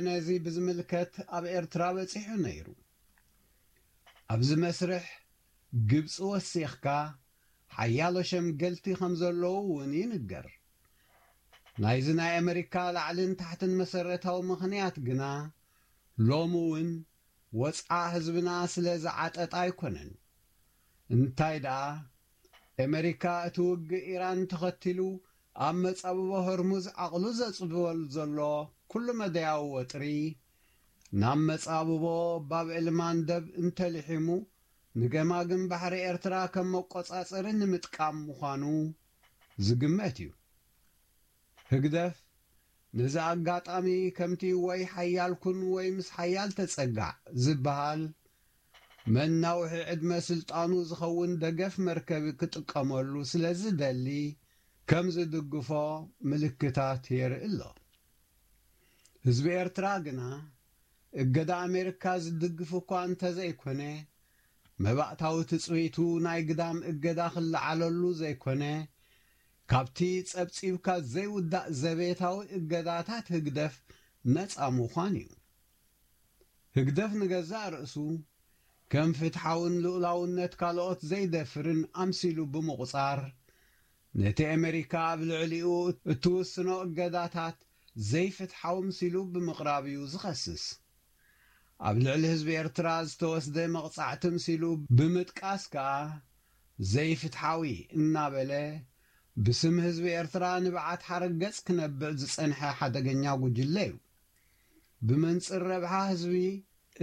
ነዚ ብዝምልከት ኣብ ኤርትራ በጺሑ ነይሩ። ኣብዚ መስርሕ ግብጺ ወሲኽካ ሓያሎ ሸምገልቲ ከም ዘለዉ እውን ይንገር። ናይዚ ናይ ኣመሪካ ላዕልን ታሕትን መሰረታዊ ምኽንያት ግና ሎሚ እውን ወጽዓ ህዝብና ስለ ዝዓጠጠ ኣይኮነን። እንታይ ደኣ፣ ኣመሪካ እቲ ውግእ ኢራን ተኸቲሉ ኣብ መጻብቦ ሆርሙዝ ዓቕሉ ዘጽብበሉ ዘሎ ኩሉ መደያዊ ወጥሪ ናብ መጻብቦ ባብ ኤልማንደብ እንተልሒሙ ንገማግም ባሕሪ ኤርትራ ከም መቆጻጸሪ ንምጥቃም ምዃኑ ዝግመት እዩ። ህግደፍ ነዚ ኣጋጣሚ ከምቲ ወይ ሓያል ኩን ወይ ምስ ሓያል ተጸጋዕ ዝበሃል መናውሒ ዕድመ ስልጣኑ ዝኸውን ደገፍ መርከቢ ክጥቀመሉ ስለ ዝደሊ ከም ዝድግፎ ምልክታት የርኢ ኣሎ። ህዝቢ ኤርትራ ግና እገዳ ኣሜሪካ ዝድግፍ እኳ እንተዘይኮነ፣ መባእታዊ ትጽቢቱ ናይ ግዳም እገዳ ክለዓለሉ ዘይኮነ፣ ካብቲ ጸብጺብካ ዘይውዳእ ዘቤታዊ እገዳታት ህግደፍ ነጻ ምዃን እዩ። ህግደፍ ንገዛእ ርእሱ ከም ፍትሓውን ልኡላውነት ካልኦት ዘይደፍርን ኣምሲሉ ብምቑጻር፣ ነቲ ኣመሪካ ኣብ ልዕሊኡ እትውስኖ እገዳታት ዘይፍትሓዊ ምሲሉ ብምቕራብ እዩ ዝኸስስ። ኣብ ልዕሊ ህዝቢ ኤርትራ ዝተወስደ መቕጻዕቲ ምሲሉ ብምጥቃስ ከኣ ዘይፍትሓዊ እናበለ ብስም ህዝቢ ኤርትራ ንብዓት ሓረገጽ ክነብዕ ዝጸንሐ ሓደገኛ ጉጅለ እዩ። ብመንጽር ረብሓ ህዝቢ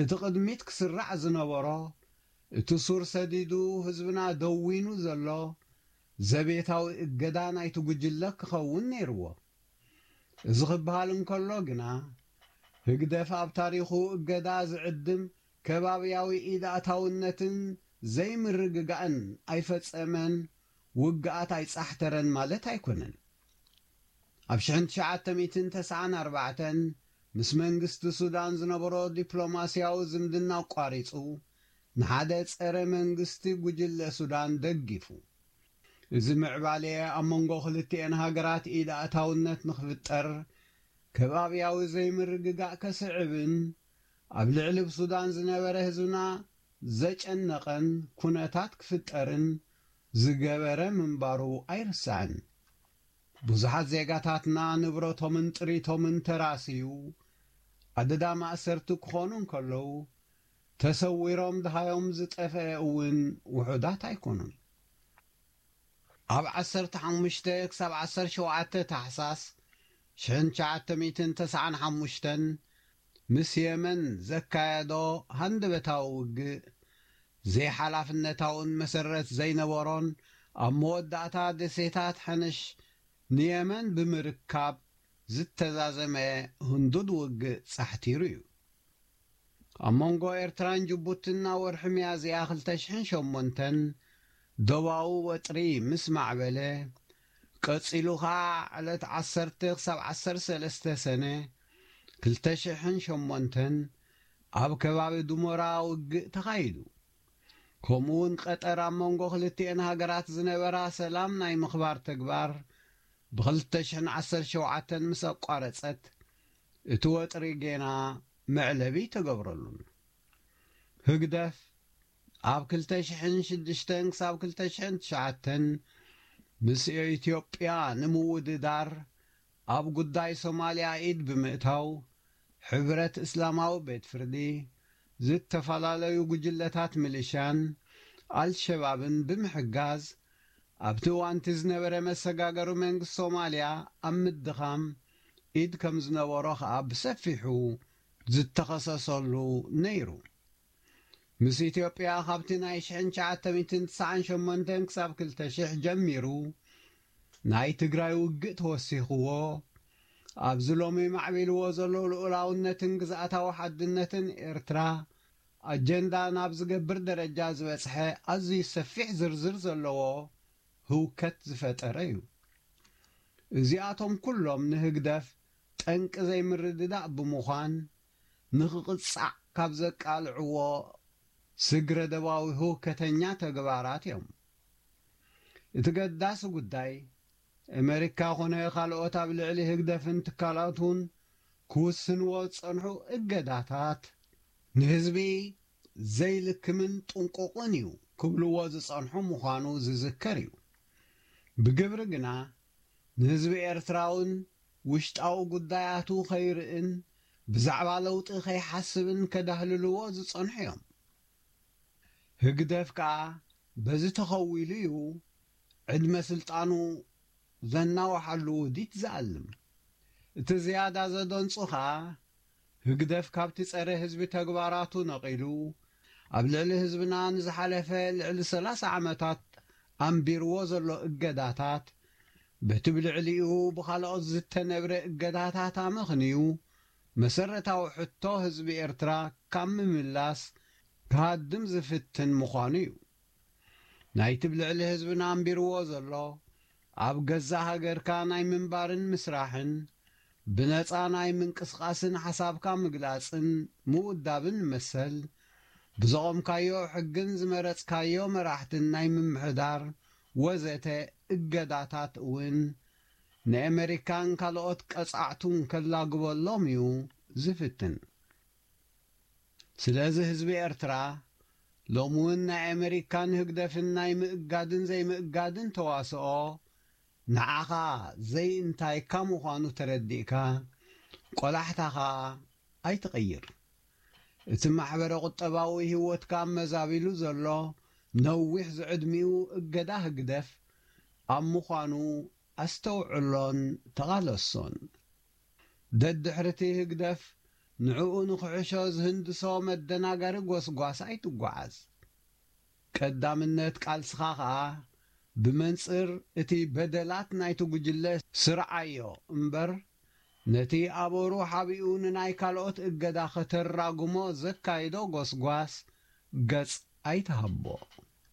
እቲ ቅድሚት ክስራዕ ዝነበሮ፣ እቲ ሱር ሰዲዱ ህዝብና ደዊኑ ዘሎ ዘቤታዊ እገዳ ናይቲ ጉጅለ ክኸውን ነይርዎ። እዚ ክበሃል እንከሎ ግና፣ ህግደፍ ኣብ ታሪኹ እገዳ ዝዕድም ከባብያዊ ኢድ ኣእታውነትን ዘይምርግጋእን ኣይፈጸመን፣ ውግኣት ኣይጻሕተረን ማለት ኣይኮነን። ኣብ ሽሕን ትሽዓተ ሚእትን ተስዓን ኣርባዕተን ምስ መንግስቲ ሱዳን ዝነበሮ ዲፕሎማስያዊ ዝምድና ኣቋሪጹ፣ ንሓደ ጸረ መንግስቲ ጉጅለ ሱዳን ደጊፉ። እዚ ምዕባለ ኣብ መንጎ ክልቲኤን ሃገራት ኢድ ኣእታውነት ንኽፍጠር፣ ከባብያዊ ዘይምርግጋእ ከስዕብን ኣብ ልዕሊ ብሱዳን ዝነበረ ህዝብና ዘጨነቐን ኩነታት ክፍጠርን ዝገበረ ምንባሩ ኣይርሳዕን። ብዙሓት ዜጋታትና ንብረቶምን ጥሪቶምን ተራስዩ ኣደዳ ማእሰርቲ ክኾኑ እንከለዉ፣ ተሰዊሮም ደሃዮም ዝጠፍአ እውን ውሑዳት ኣይኮኑን። ኣብ ዓሰርተ ሓሙሽተ ክሳብ ዓሰርተ ሸውዓተ ታሕሳስ ሽሕን ትሽዓተ ሚእትን ተስዓን ሓሙሽተን ምስ የመን ዘካየዶ ሃንደበታዊ ውግእ፣ ዘይሓላፍነታውን መሰረት ዘይነበሮን ኣብ መወዳእታ ደሴታት ሕንሽ ንየመን ብምርካብ ዝተዛዘመ ህንዱድ ውግእ ጻሕቲሩ እዩ። ኣብ መንጎ ኤርትራን ጅቡትን ኣብ ወርሒ ሚያዝያ ክልተ ሽሕን ሸሞንተን ዶባዊ ወጥሪ ምስ ማዕበለ፣ ቀጺሉ ኸኣ ዕለት ዓሰርተ ክሳብ ዓሰርተ ሰለስተ ሰነ ክልተ ሽሕን ሸሞንተን ኣብ ከባቢ ዱሞራ ውግእ ተኻይዱ። ከምኡውን ቀጠር ኣብ መንጎ ክልቲኤን ሃገራት ዝነበራ ሰላም ናይ ምኽባር ተግባር ብኽልተ ሽሕን ዓሰርተ ሸውዓተን ምስ ኣቋረጸት፣ እቲ ወጥሪ ጌና መዕለቢ ተገብረሉን። ህግደፍ ኣብ ክልተ ሽሕን ሽዱሽተን ክሳብ ክልተ ሽሕን ትሽዓተን ምስ ኢትዮጵያ ንምውድዳር ኣብ ጉዳይ ሶማልያ ኢድ ብምእታው፣ ሕብረት እስላማዊ ቤት ፍርዲ፣ ዝተፈላለዩ ጉጅለታት ሚሊሻን ኣልሸባብን ብምሕጋዝ፣ ኣብቲ እዋንቲ ዝነበረ መሰጋገሪ መንግስቲ ሶማልያ ኣብ ምድኻም ኢድ ከም ዝነበሮ ኸኣ ብሰፊሑ ዝተኸሰሰሉ ነይሩ። ምስ ኢትዮጵያ ካብቲ ናይ ሽሕን ትሽዓተ ሚእትን ትስዓን ሸሞንተን ክሳብ ክልተ ሽሕ ጀሚሩ ናይ ትግራይ ውግእ ተወሲኽዎ፣ ኣብዚ ሎሚ ማዕቢልዎ ዘሎ ልኡላውነትን ግዝኣታዊ ሓድነትን ኤርትራ ኣጀንዳ ናብ ዝገብር ደረጃ ዝበጽሐ ኣዝዩ ሰፊሕ ዝርዝር ዘለዎ ህውከት ዝፈጠረ እዩ። እዚኣቶም ኩሎም ንህግደፍ ጠንቂ ዘይምርድዳእ ብምዃን፣ ንኽቕጻዕ ካብ ዘቃልዕዎ ስግረ ደባዊ ህውከተኛ ተግባራት እዮም። እቲ ገዳሲ ጉዳይ፣ ኣመሪካ ኾነ ካልኦት ኣብ ልዕሊ ህግደፍን ትካላቱን ክውስንዎ ዝጸንሑ እገዳታት ንህዝቢ ዘይልክምን ጥንቁቕን እዩ ክብልዎ ዝጸንሑ ምዃኑ ዝዝከር እዩ። ብግብሪ ግና ንህዝቢ ኤርትራውን ውሽጣዊ ጉዳያቱ ከይርእን ብዛዕባ ለውጢ ከይሓስብን ከዳህልልዎ ዝጸንሑ እዮም። ህግደፍ ከኣ በዚ ተኸዊሉ እዩ ዕድመ ስልጣኑ ዘናውሓሉ ውዲት ዝኣልም። እቲ ዝያዳ ዘደንጹ ከኣ ህግደፍ ካብቲ ጸረ ህዝቢ ተግባራቱ ነቒሉ ኣብ ልዕሊ ህዝብና ንዝሓለፈ ልዕሊ ሰላሳ ዓመታት ኣንቢርዎ ዘሎ እገዳታት በቲ ብልዕሊኡ ብኻልኦት ዝተነብረ እገዳታት ኣመኽንዩ መሰረታዊ ሕቶ ህዝቢ ኤርትራ ካብ ምምላስ ክሃድም ዝፍትን ምዃኑ እዩ። ናይቲ ብልዕሊ ህዝብና ኣንቢርዎ ዘሎ ኣብ ገዛእ ሃገርካ ናይ ምንባርን ምስራሕን ብነጻ ናይ ምንቅስቓስን ሓሳብካ ምግላጽን ምውዳብን መሰል ብዘቖምካዮ ሕግን ዝመረጽካዮ መራሕትን ናይ ምምሕዳር ወዘተ እገዳታት እውን ንኣመሪካን ካልኦት ቀጻዕቱን ከላግበሎም እዩ ዝፍትን። ስለዚ ህዝቢ ኤርትራ ሎሚ እውን ናይ ኣመሪካን ህግደፍን ናይ ምእጋድን ዘይምእጋድን ተዋስኦ ንዓኻ ዘይእንታይካ ምዃኑ ተረዲእካ ቆላሕታኻ ኣይትቐይር። እቲ ማሕበረ ቁጠባዊ ህይወትካ መዛቢሉ ዘሎ ነዊሕ ዝዕድሚኡ እገዳ ህግደፍ ኣብ ምዃኑ ኣስተውዕሎን ተቓለሶን። ደድሕርቲ ህግደፍ ንዕኡ ንኽሕሾ ዝህንድሶ መደናጋሪ ጎስጓስ ኣይትጓዓዝ። ቀዳምነት ቃልስኻ ኸኣ ብመንጽር እቲ በደላት ናይቲ ጉጅለ ስርዓዮ እምበር ነቲ ኣበሩ ሓቢኡ ንናይ ካልኦት እገዳ ከተራጉሞ ዘካይዶ ጎስጓስ ገጽ ኣይትሃቦ።